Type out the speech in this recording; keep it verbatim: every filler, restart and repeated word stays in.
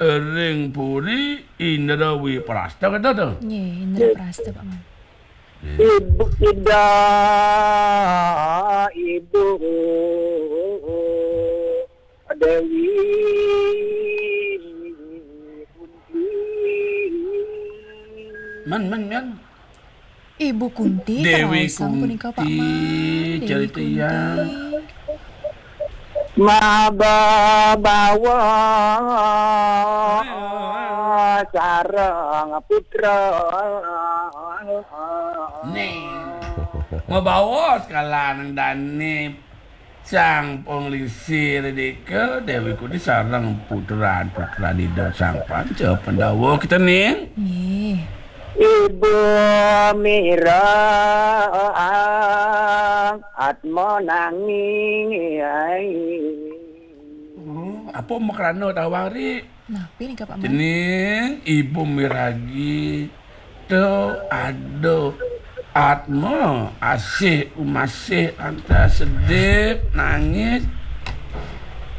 ring puri Indrawiprasta, kata to. Nggih, Indraprasta, Pak Man. Ibu Ida, Ibu Dewi Kunti. Men, men, men. Ibu Kunti, Dewi karaosang punika, Pak Kunti, Man. Dewi cerita Kunti. ya. Mababawa sareng putra. Nih. Mabawa sekalaning dane Sang Panglingsir dika Dewi Kunti sareng putran-putran Ida Sang Panca Pandawa kita ning. Nggih. Ibu Mirang Atma nanging. Oh, apa makrana tawang ri? Napi nika, Pak Man? Dening ibu miragi to ada Atma asih umasih anta sedih nangis